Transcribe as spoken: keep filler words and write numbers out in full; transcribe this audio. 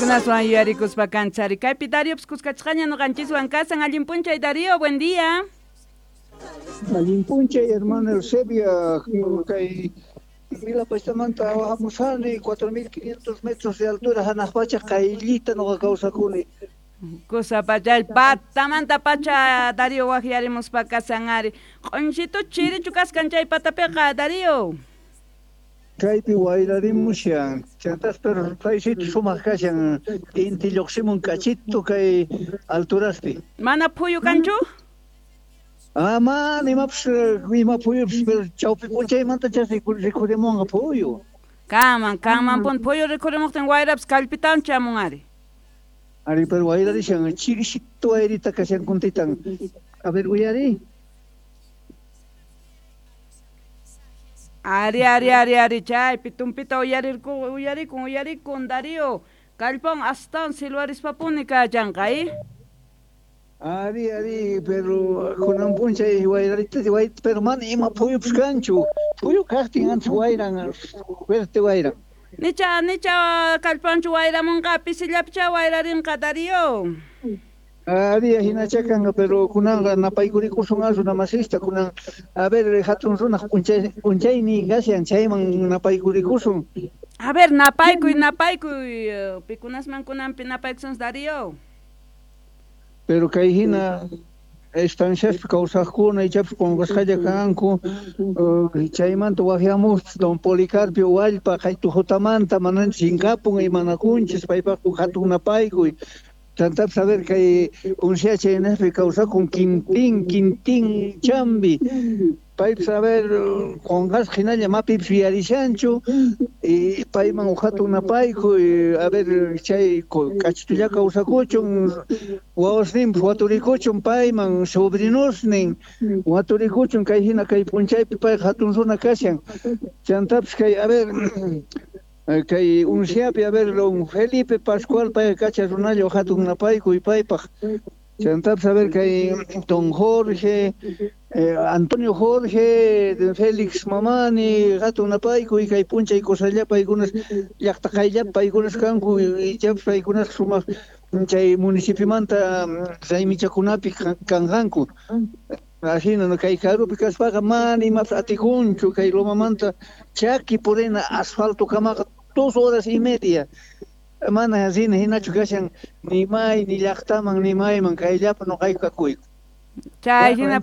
Chaykunaswan yuyarikuspa kanchari. Kaypi Dariopas kuskachqaña ñuqanchiswan kasan. Allin p'unchay Darío, buen día. Allin p'unchay hermana Eusebia, kay Milapachtamanta hamusani cuatro mil quinientos metros de altura hanaq pacha qayllita nuqa kawsakuni. Kusa pachay patamanta pacha Darío waqyarimuspa kasan ari. Q'unchitu chirichu kaskan chay patapiqa Darío. Kaypi wayrarimushan, chantas pero paysito sumaq kashan inti lluqsimun kachito kay alturaspi. Mana phuyu kanchu? Ah, mana imapas ima phuyupas pero chawpi p'unchaymanta chas rikhurimunqa phuyu. Kaman, kaman pun phuyu rikhurimuqtin wayrapas kallpitawan chamun ari. Ari, pero wayrarishan chirisito wayrita kashan kuntitan. A ver, uyari. Ari, ari, ari, ari, chaypi tumpita uyarirku, uyarikun, uyarikun, Darío. Kallpan astawan silwarispapuni kachanqa, eh? Ari, ari, pero kunan p'unchay wayrarita, way, pero mana ima phuyupas kanchu. Phuyu kaqtin antes wayran, fuerte wayran. Nicha, nicha kallpanchu wayramunqa, pisillapicha wayrarinqa, Darío. Ari, hinacha kanqa, pero kunanqa napaykurikusun runa masista, kunan, a ver, hatun runaq p'unchay, p'unchayni kashan, chayman napaykurikusun. A ver, napaykuy, napaykuy, pikunasman kunanpi napaykusun, Darío. Pero kay hina estanciaspi kawsaqkuna ichapas qunqasqalla kanku, chaymanta waqyamuq don Policarpio Wallpa qaytujutamanta manan chinkapun imanakunchis paypaq hatun napaykuy. Chantapis a ver kay unsya chaynaspi kawsakun Quintín, Quintín Chambi. Paypis a ver qunqasqa hinalla mapipis yuyarishanchu y payman hatun napaykuy, a ver chay k'achitulla kawsakuchun wawasninpis waturikuchun payman sobrinosnin waturikuchun kay hina kay p'unchaypi payqa hatun runa kashan. Chantapis kay a ver kay unsyapi a ver don Felipe Pascual payqa kacha runalla hatun napaykuy paypaq. Chantapis a ver kay don Jorge, eh, Antonio Jorge, Félix Mamani, hatun napaykuy kay p'unchay kusalla paykunas llaqta qayllapi paykunas kanku ichapas paykunas sumaq chay municipiomanta raymichakunapi kanqanku. Ajina no kay karupi kaspaqa mana imapas atikunchu kay Lomamanta chaki purina asfalto kamaqa dos horas y media. Mana rina hinachu kashan ni may ni llaqtaman ni mayman kayllapa nuqayku kakuyku. Chay hina